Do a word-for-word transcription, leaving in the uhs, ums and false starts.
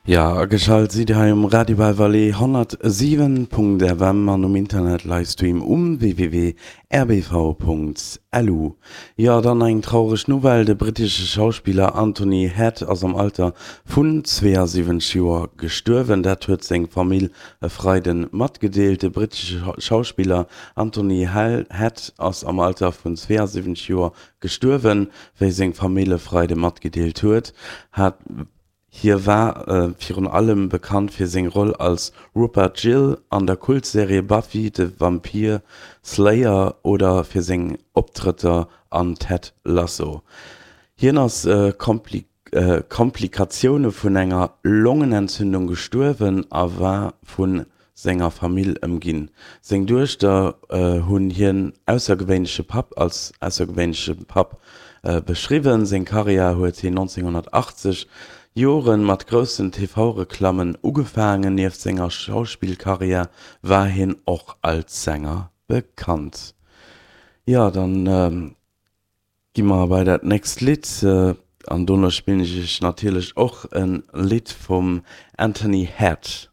Jo, ageschalt sidd Dir hei um Radio Belle Vallée honnertsiwen Punkt F M an um Internet Livestream um W W W Punkt R B V Punkt L U. Jo, dann eng traureg Nouvelle, De brittesche Schauspiller Anthony Head ass am Alter vun zweeasiwwenzeg Joer gestuerwen. Dat huet seng Famill e Freide matgedeelt. De brittesche Schauspiller Anthony Head ass am Alter vun zweeasiwwenzeg Joer gestuerwen, wéi seng Famill e Freide matgedeelt huet. Hie war virun allem bekannt fir seng Roll als Rupert Giles an der Kultserie Buffy the Vampire Slayer oder fir seng Optrëtter an Ted Lasso. Hien ass Komplikatioune vun enger Longenentzündung gestuerwen a war vu senger Famill ëmginn. Seng Duechter hunn hien aussergewéinleche Papp als aussergewéinleche Papp beschriwwen. Seng Karriär huet hien nonzénghonnertachtzeg Jore mat groussen T V-Reklammen ugefaangen. Nieft senger Schauspillkarriär war hien och als Sänger bekannt. Jo, dann gi mer bei dat nächst Lidd an dono spillen ech iech natierlech och e Lidd vum Anthony Head.